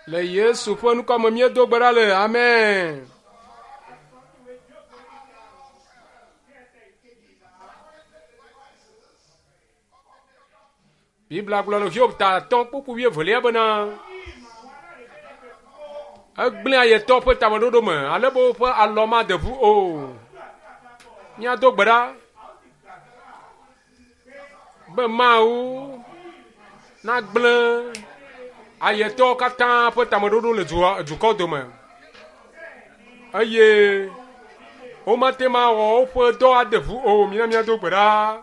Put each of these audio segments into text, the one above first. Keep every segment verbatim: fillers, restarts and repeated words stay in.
Le Yesu ƒe ŋkɔme míedo gbe ɖa le amen. Biblia gblɔ le Hiob ta atɔ̃ kpukpui wuievelia bena egblẽ ayetɔ ƒe tameɖoɖo me ale be woƒe alɔ made ʋu o. Míado gbe ɖa be Mawu nagblẽ ayetɔwo katã ƒe tameɖoɖo le dua, dukɔ dome eye womate ma wɔ woƒe dɔ ade ʋu o. Mina míado gbe ɖa.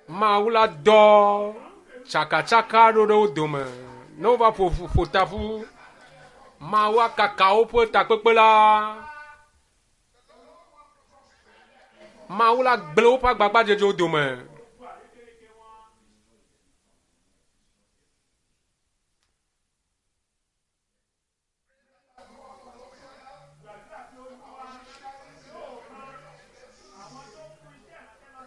Mawu la dɔ tsakatsaka ɖo ɖe wo dome ne wova ƒo ƒo ta ƒu. Mawu akaka woƒe takpekpe la. Mawu la gblẽ woƒe agbagbadzedzewo dome.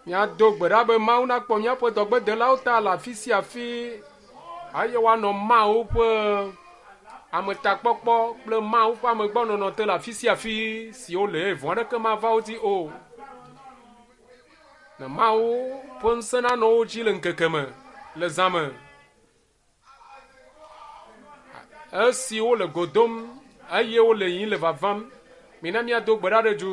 Míado gbe ɖa be Mawu nakpɔ míaƒe dɔgbedelawo ta le afi sia afi eye woanɔ Mawu ƒe ametakpɔkpɔ kple Mawu ƒe amegbɔnɔnɔ te le afi sia afi si wole eye vɔ̃ aɖeke mava wo dzi o. Ne Mawu ƒe ŋusẽ nanɔ wo dzi le ŋkeke me, le zã me. Esi wole go dom eye wole yiyim le vavam, mina míado gbe ɖa ɖe du.